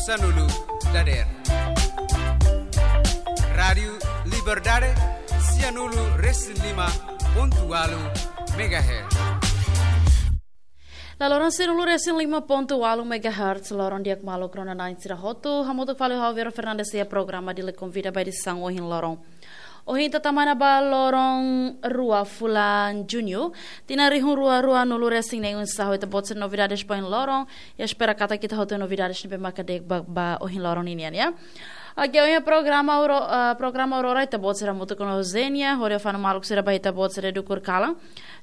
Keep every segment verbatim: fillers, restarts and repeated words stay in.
Sanulu dader. Rádiu Liberdade, sianulu resin lima pontu walu megahertz. La loron sianulu resin lima pontu walu megahertz, loron di'ak maluk rona-na'in sira hotu, hamutuk fali ho Vera Fernandes iha programa Dili Konvida ba edisaun ohin loron. Ohin ita tama ona ba loron rua fulan Juñu, tinan rihun rua rua nulu resin neen. Oinsá ho ita-boot sira novidades ba ohin loron, i espera katak ita hotu novidades ne'ebé maka di'ak ba, ba ohin loron ninian, ya. Oke, ohin programa Auro-, eh, programa Aurora ita-boot sira hamutuk ho Zenia, hodi fanu maluk sira ba ita-boot sira dukur kalan.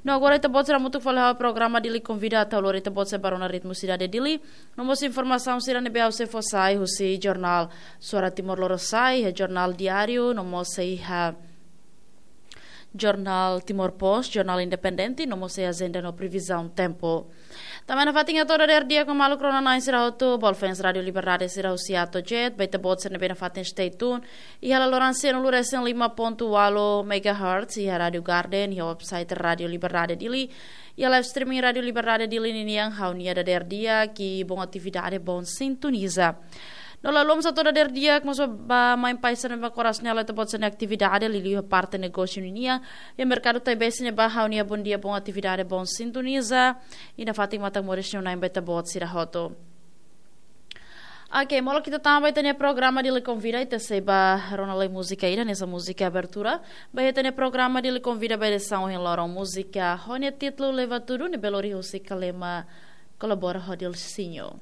No agora ita-boot sira hamutuk fali ho programa Dili Konvida atu lori ita-boot sira ba rona ritmu sidade Dili. No mós informasaun sira ne'ebé sei fó sai husi jornál Suara Timor Lorosa'e, iha jornál diáriu, no mós iha jornál Timor Post, jornál independente, no mós iha ajenda no previzaun tempu. Tanba nafatin hato'o dader di'ak maluk rona-na'in sira hotu, bolu fans Rádiu Liberdade sira husi A to Z, ba ita-boot sira ne'ebé nafatin stay tune iha la loron sianulu resin lima pontu walu megahertz, iha Rádiu Garden, iha website Rádiu Liberdade Dili, iha live streaming Rádiu Liberdade Dili ninian, ha'u-nia dader di'ak i bom atividade, bom sintoniza. No la haluha mós hato'o dader di'ak mós ba, ba maun-alin sira ne'ebé koras nela ita-boot sira-nia atividade, liuliu iha parte negósiu ninian, iha merkadu Taibesi ne'ebá, ha'u-nia bom dia, bom atividade, bom sintoniza, i nafatin matan moris nia Na'i ba ita-boot sira hotu. Oke, molok ita tama ba ita-nia programa Dili Konvida, ita sei ba rona lai múzika ida, hanesan múzika abertura ba ita-nia programa Dili Konvida ba edisaun ohin loron, múzika ho nia títulu Leva Tudu, ne'ebé lori husi Kalema kolabora ho Dilsinho.